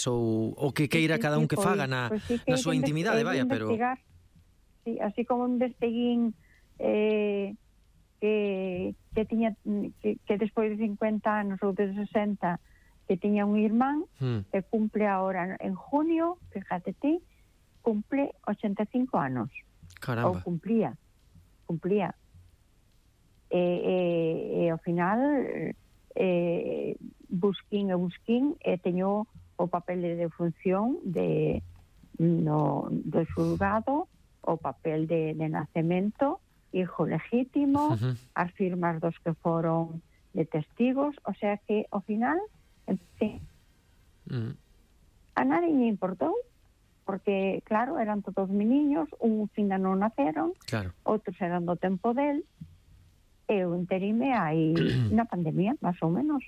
ou que queira cada un que faga na súa intimidade, vaya, pero... Sí, así como investiguín que tiña que despois de 50 anos ou de 60 que tiña un irmán que cumple ahora en junio, fíjate ti, cumple 85 anos. Caramba. Ou cumplía. E ao final busquín e teño o papel de defunción do xulgado, o papel de nacemento, hijo legítimo, as firmas dos que foron de testigos, o sea que ao final a nadie lle importou, porque claro, eran todos meniños, uns ainda non naceron, outros eran do tempo del. Eu enterime aí na pandemia, máis ou menos,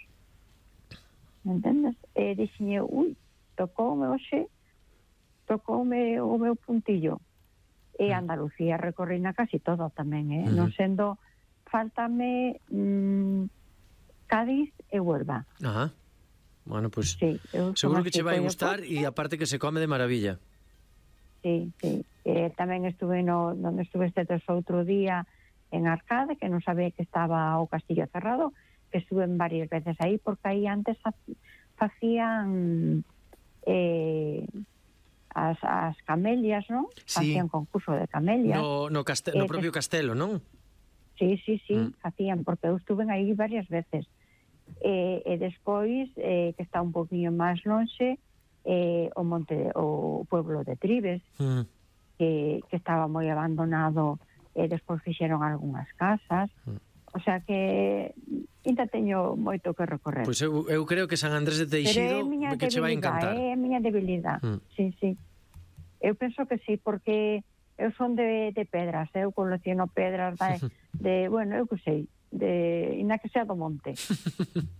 entendes? E dixenlle, tocoume o meu puntillo. E Andalucía recorrina casi todo tamén, non sendo, faltame Cádiz e Huelva. Bueno, pues seguro que che vai gustar, e aparte que se come de maravilla. Sí. Tamén estuve donde estuve este outro día en Arcade, que non sabía que estaba o castillo cerrado, que estuve varias veces aí, porque aí antes facían as camelias, non? Sí. Facían concurso de camelias. No propio castelo, non? Sí, facían, porque eu estuve aí varias veces. E despois, que está un poquinho máis lonxe, o pueblo de Tribes, que estaba moi abandonado, e despois fixeron algunhas casas, o sea que ainda teño moito que recorrer. Pois eu creo que San Andrés de Teixido que che vai encantar. É a miña debilidade, sí. Eu penso que sí, porque eu son de pedras, eu colecciono pedras bueno, eu que sei, ainda que sea do monte,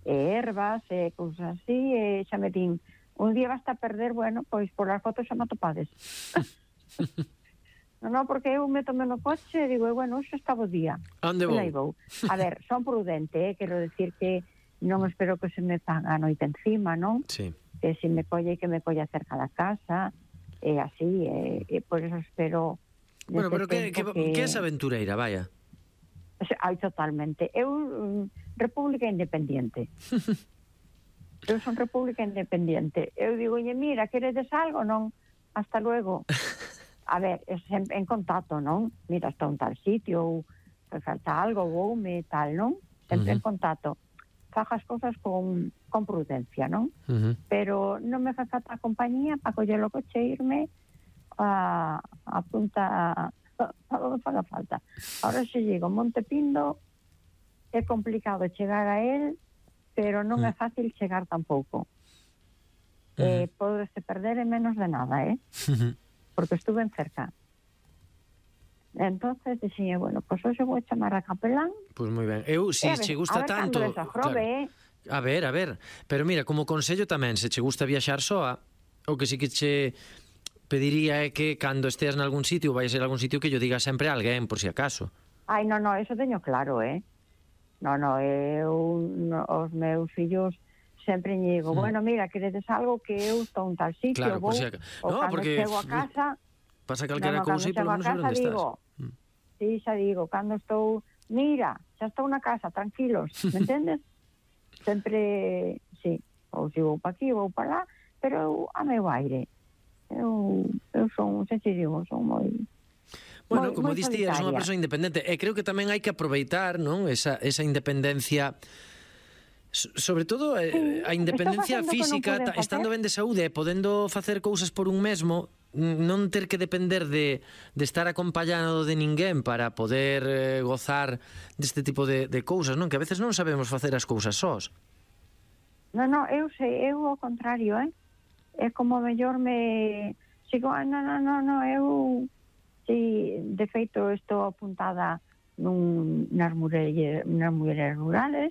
ervas, cousas así, xa me din, un día basta perder, bueno, pois por as fotos xa me atopades. Non, porque eu metome no coche e digo, bueno, xa está o día. Onde vou? A ver, son prudente, quero decir que non espero que se me paga a noite encima, non? Sí. Que se me colle, que me colle cerca da casa, e así, e por eso espero... Bueno, pero que é esa aventureira, vaya? Ai, totalmente. Eu, República Independiente. Eu son República Independiente. Eu digo, mira, queredes algo? Non, hasta luego. A ver, en contacto, non? Mira, está un tal sitio, ou falta algo, voume, tal, non? Sempre en contacto. Faja as cousas con prudencia, non? Pero non me fa falta a compañía para coller o coche e irme a punta a donde faga falta. Ahora se llego Monte Pindo, é complicado chegar a él, pero non é fácil chegar tampouco. Podese perder en menos de nada, porque estuve en cerca. Entonces dixen, bueno, pues hoxe vou chamar a capelán. Pois moi ben. Eu, se che gusta tanto... A ver, pero mira, como consello tamén, se che gusta viaxar soa, o que sí que che pediría é que cando esteas nalgún sitio, ou vais a ir a algún sitio, que yo diga sempre a alguén, por si acaso. Ai, non, eso teño claro, os meus fillos sempre lle digo, bueno, mira, queredes algo, que eu estou en tal sitio, claro, vou, ou cando chego a casa... Pasa calquera cousa e polo menos saber onde estás. Sí, xa digo, cando estou... Mira, xa estou na casa, tranquilos, me entendes? Sempre, sí, ou se vou pa aquí, vou pa lá, pero eu a meu aire. Eu son, xa te digo, son moi... Bueno, como diste, eres unha persoa independente, e creo que tamén hai que aproveitar, non, esa independencia... Sobre todo a independencia física, estando ben de saúde e podendo facer cousas por un mesmo, non ter que depender de estar acompañado de ninguén para poder gozar deste tipo de cousas, non? Que a veces non sabemos facer as cousas sós. Non, eu sei, eu ao contrario, é como mellor me... Sigo, non, eu... Si, de feito, estou apuntada nas mulleres rurales,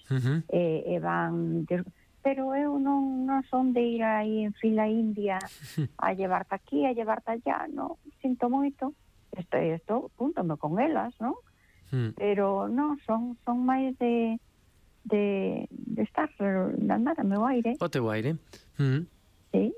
e van... Pero eu non son de ir aí en fila india a llevarte aquí, a llevarte allá, non, sinto moito. Estou, púntome con elas, non? Pero non, son máis de estar, de andar a meu aire. O teu aire. Sí,